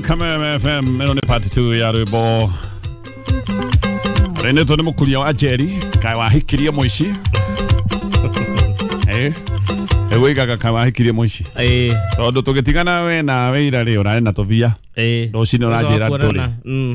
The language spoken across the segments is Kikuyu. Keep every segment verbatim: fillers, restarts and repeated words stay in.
ya Kameme F M ĩno nĩ part two ya rwĩmbo rĩnĩtwo nĩ mũkuria wa Njeri kaĩ wahikirie mũici. Eh, ĩgũigaga kaĩ wahikirie mũici eh tondũ tũgĩtigana we na wĩira rĩ ũrarĩ na tũbia eh rũcinĩ ũranjĩra ndũrĩ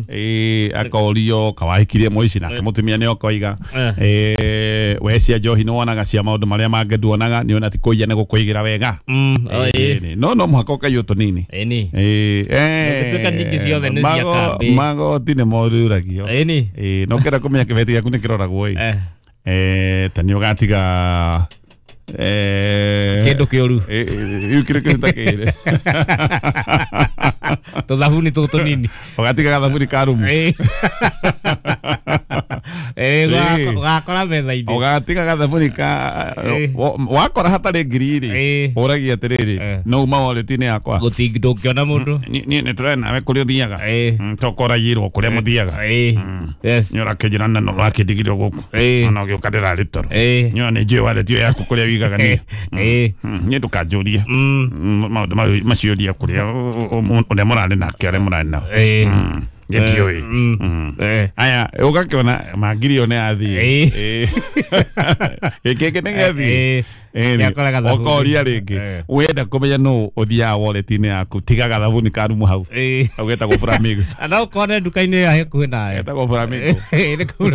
eh akorio kawahikirie mũici nake mũtumia nĩ okoiga eh we cia njohi nĩ wonaga cia maũndũ marĩa mangĩ nduonaga nĩ ona ti kũiya nĩ gũkũigĩra wega. Mm eh no no mũhaka ũkaiywo tũnini eh eh eh gũtuĩka nyingĩ ciothe nĩ cia kambĩ magoti nĩ moruragio eh ni eh no kĩenda kũmenya kĩbeti gĩaku nĩ kĩroragwo ĩ eh ta nĩ ũgatiga eh kindu kiuru eh iu kire kire takire tuthabuni tutu nini ugatiga gathabuni ka rumu eh eh ugakora metha-inĩ ugatiga gathabuni ka wakora hatarĩ ngiri rĩ ũragia atĩrĩrĩ no uma wallet-inĩ yakwa gũtingĩ ndũngĩona mũndũ niĩ nĩ tũrarĩ nawe kũrĩa ũthiaga tokoragirwo kũrĩa mũthiaga yes nĩ ũrakĩnjĩra na ũrakĩndigire gũkũ ona ũgĩũka ndĩrarĩ toro nĩ nĩ njũĩ wallet ĩyo yaku kũrĩa wĩigaga niĩ niĩ ndũkanjũrie maũndũ macio ũria kũrĩa ũrĩa mũrarĩ nake arĩa mũrarĩ nao gĩtiũĩ aya ũgakĩona mangiri ĩyo nĩ yathiĩ gĩkĩngĩ nĩ gĩathiĩ ũkoria rĩngĩ wenda kũmenya nũ ũthiaga wallet-inĩ yaku tiga gathabuni ka rumu hau hau getagwo Flamingo na ũkone nduka-inĩ ĩyo hakuhĩ nawe getagwo Flamingo nĩ kũu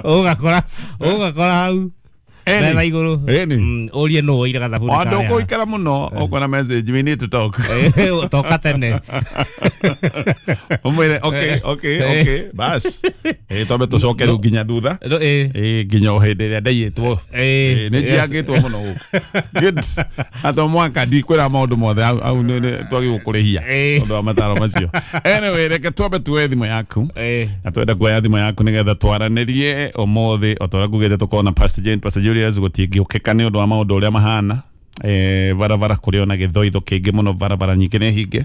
ũgakora ũgakora hau metha igũrũ ũrie nũ woire gathabuni karĩa andũ ũkũikara mũno ũkona message we need to talk toka tene ũmwĩre okay okay okay bas eh twambe tũcoke rĩu nginya thutha eh nginya o hĩndĩ ĩrĩa ndaiyĩtwo nĩ njiangĩtwo mũno gũkũ good atũ mwaka ndikwĩra maũndũ mothe au twagĩrĩirwo kũrĩhia ũndũ wa mataro macio. Anyway reke twambe tuoe thimũ yaku na twenda kuoya thimũ yaku nĩgetha twaranĩrie ũmũthĩ o ta ũrĩa ngugĩte tũkorwo na Pastor Jane Pastor Julius gũtingĩũkĩka nĩ ũndũ wa maũndũ ũrĩa mahana eh barabara kũrĩ ona gĩthoitho kĩingĩ mũno barabara nyingĩ nĩ hinge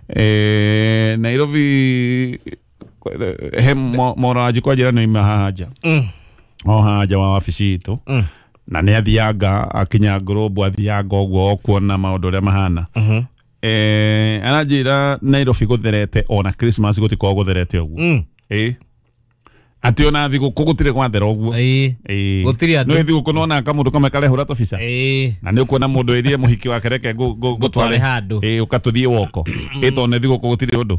eh Nairobi he moraji kwa njĩra nĩ ima haha nja o haha nja wa wabici itũ na nĩ athianga akinya Globe athianga ũguo okuona maũndũ ũrĩa mahana eh aranjĩra Nairobi gũtherete ona Christmas gũtikoragwo gũtherete ũguo eh atĩ ona thigũkũ gũtirĩ gwathera ũguo ĩĩ gũtirĩ andũ nĩ thigũkũ nona kamũndũ kamwe karehũra tũbica na nĩ ũkuona mũndũ ĩrie mũhiki wake reke ngũtware handũ ĩĩ ũkatũthiĩ woko ĩĩ tondũ nĩ thigũkũ gũtirĩ ũndũ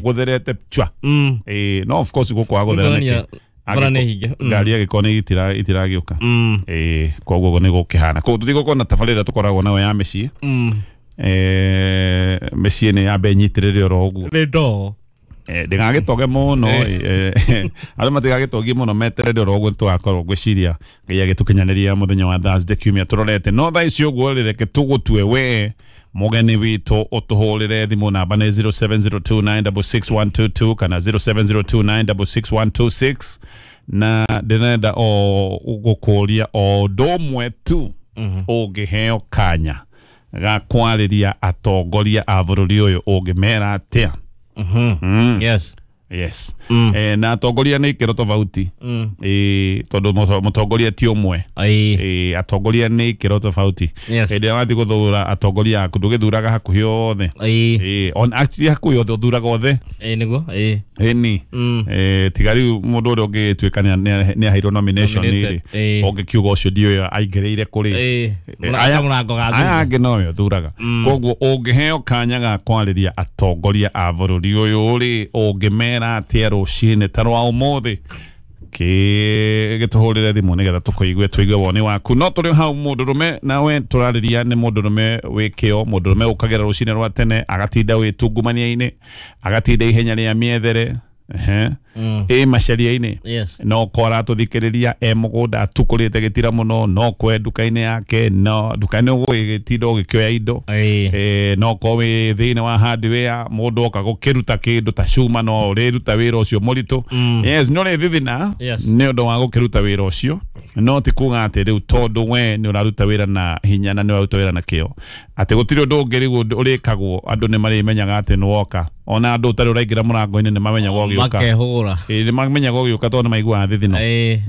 gũtherete chwa ĩĩ no of course gũkũ gũthera nĩkĩ ngari agĩkorwo nĩ itiragĩũka ĩĩ koguo nĩ gũkĩhana koguo tũtigũkorwo na tabarĩra tũkoragwo nayo ya mĩciĩ eh mĩciĩ nĩ yambe ĩnyitĩrĩre oro ũguo nĩ ndoo ndĩgagĩtoge mũno andũ matigagĩtogie mũno meterere oro ũguo tũgakorwo ngwĩciria Ngai agĩtũkinyanĩria mũthenya wa Thursday kiumia tũrorete no thaa ici ũguo rĩ reke tũgũtue we mũgeni witũ ũtũhũrĩre thimũ namba nĩ zero seven zero two nine six six one two two kana zero seven zero two nine six six one two six na ndĩrenda o gũkũria o ũndũ ũmwe tu ũngĩheo kanya ga kwarĩria atongoria a bũrũri ũyũ ũngĩmera atĩa. Mm. Yes. Yes. Mm. Eh, na atongoria nĩ ikĩro tofauti. Mm. Eh, tondũ mũtongoria ti ũmwe. Eh, atongoria nĩ ikĩro tofauti. Yes. Hĩndĩ ĩrĩa wathiĩ gũthura atongoria aku ndũgĩthuraga hakuhĩ othe. Eh. Eh, on actually hakuhĩ othe ũthuraga othe. Eh, nĩguo. Eh. Ĩni. Mm. Eh, tiga rĩu mũndũ ũrĩa ũngĩtuĩka nĩ aheirwo nomination rĩ ũngĩkiuga ũcio ndiũĩ aingĩrĩire kũrĩ. Eh. Mũrango ga thutha. Aya angĩ nowe ũthuraga. Koguo ũngĩheo kanya ga kwarĩria atongoria a bũrũri ũyũ rĩ ũngĩmera atĩa rũcinĩ ta rwa ũmũthĩ gĩtũhũrĩre thimũ nĩgetha tũkũigue tũigue woni waku no tũrĩ hau mũndũrũme nawe tũrarĩria nĩ mũndũrũme wĩ kĩo mũndũrũme ũkagĩra rũcinĩ rwa tene agatinda wĩtungumania-inĩ agatinda ihenya rĩa mĩethere ehe ĩ macaria-inĩ no ko aratũthikĩrĩria e mũgũnda atukũrĩte gĩtira mũno no kwe nduka-inĩ yake no nduka-inĩ ũgũgĩtinda ũgĩkĩoya indo eh no ko wĩ thĩinĩ wa hardware mũndũ oka gũkĩruta kĩndũ ta cuma no ũrĩruta wĩra ũcio mũritũ yes nĩ ũrĩthithina nĩ ũndũ wa gũkĩruta wĩra ũcio no ti kuga atĩ rĩu tondũ we nĩ ũraruta wĩra na hinya na nĩ ũraruta wĩra na kĩo atĩ gũtirĩ ũndũ ũngĩ rĩu ũrĩkagwo andũ nĩ marĩmenyaga atĩ nĩ woka Ona andũ ũtarĩ ũraingĩra mũrango-inĩ nĩ mamenyaga ũgĩũka. Makehũra. Ĩĩ nĩ mamenyaga ũgĩũka tondũ nĩ maiguaga thithino. Ĩĩ.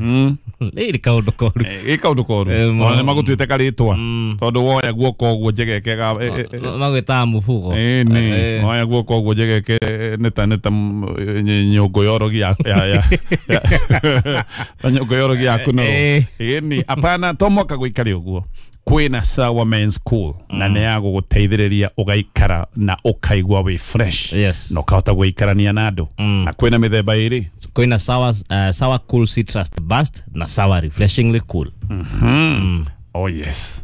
Rĩrĩ kaũndũ koru. Ĩ kaũndũ koru. Ona nĩ magũtuĩte karĩtwa tondũ woya guoko ũguo njegeke ga magwĩtaga mũbugo. Ĩĩ nĩ woya guoko ũguo njegeke nĩ ta nĩ ta nyũngũ ya ũrogi ya ya ta nyũngũ ya ũrogi ya kũnorwo. Ĩĩ nĩ apana to mwaka gũikare ũguo. Kwĩna Sawa Men's Cool na nĩ ya gũgũteithĩrĩria ũgaikara na ũkaigua wĩ fresh. Yes. Na ũkahota gũikarania na andũ. Na kwĩna mĩthemba ĩrĩ. Kwĩna Sawa uh, Sawa Cool Citrus Burst na Sawa Refreshingly Cool. Mm-hmm. Oh yes.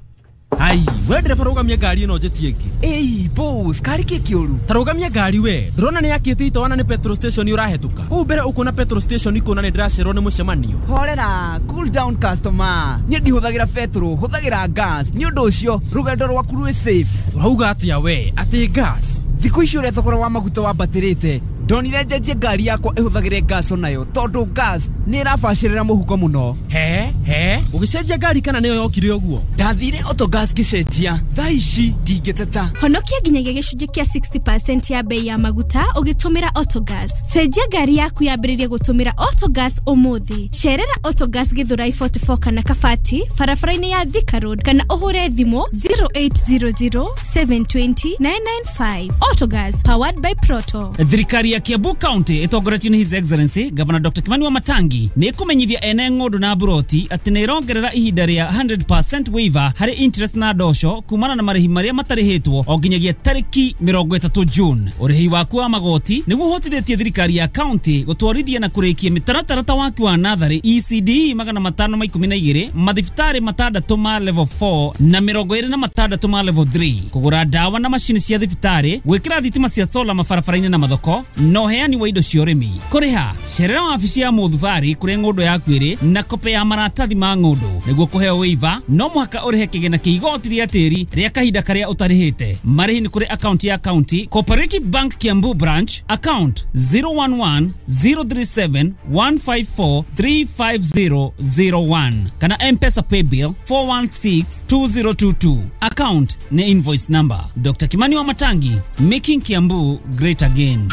Ai, we ndereba rũgamia ngari ĩno njĩtie ĩngĩ. Ĩi, boss, kari kĩ kĩũru? Ta rũgamia ngari we. Ndĩrona nĩ yakĩte itoana nĩ petrol station ũrahetũka. Kũu mbere ũkuona petrol station ikuona nĩ ndĩracererwo nĩ mũcemanio. Horera, cool down customer. Niĩ ndihũthagĩra petrol, hũthagĩra gas. Nĩ ũndũ ũcio rũgendo rwaku rwĩ safe. Ũrauga atĩa we? Atĩ gas? Thikũ ici ũrĩa thogora wa maguta wambatĩrĩte, ndonire njenjie ngari yakwa ĩhũthagĩre gas onayo tondũ gas nĩ ĩrabacĩrĩra mũhuko mũno. He he, ũgĩcenjia ngari kana nĩyo yokire ũguo? Ndathire Autogas ngĩcenjia, thaa ici ndingĩteta. Honokia nginyagia gĩcunjĩ kĩa sixty percent ya bei ya maguta ũgĩtũmĩra Autogas. Cenjia ngari yaku yambĩrĩrie gũtũmĩra Autogas ũmũthĩ. Cerera Autogas Githurai forty-four kana Kabati barabara-inĩ ya Thika Road kana ũhũre thimũ zero eight zero zero seven two zero nine nine five. Autogas powered by Proto. Thirikari ya Kiambu County ĩtongoretio nĩ His Excellency Governor Doctor Kimani Wamatangi nĩ ĩkũmenyithia ene ng'ũndũ na mburoti atĩ nĩ ĩrongerera ihinda rĩa hundred percent waiver harĩ interest na ndosho kumana na marĩhi marĩa matarĩhĩtwo o nginyagia tarĩki mĩrongo ĩtatũ June. Ũrĩhi waku wa magoti nĩguo ũhotithĩtie thirikari ya county gũtwarithia na kũrĩkia mĩtaratara ta waki wa natharĩ E C D magana matano ma ikũmi na igĩrĩ, mathibitarĩ matandatũ ma level four na mĩrongo ĩrĩ na matandatũ ma level three, kũgũra ndawa na macini cia thibitarĩ, gwĩkĩra thitima cia solar mabarabara-inĩ na mathoko na ũheani wa indo cia ũrĩmi. Kũrĩha cerera wabici ya mũthubarĩ kũrĩa ng'ũndũ yaku ĩrĩ na kope ya maratathi ma ng'ũndũ. Nĩguo kũheo waiver no mũhaka ũrĩhe kĩgĩna kĩa igoti rĩa tĩri rĩa kahinda karĩa ũtarĩhĩte. Marĩhi nĩ kũrĩ akaunti ya county Cooperative Bank Kiambu branch account zero one one zero three seven one five four three five zero zero one kana M-Pesa paybill four one six two zero two two. Account ni invoice number. Doctor Kimani Wamatangi, making Kiambu great again.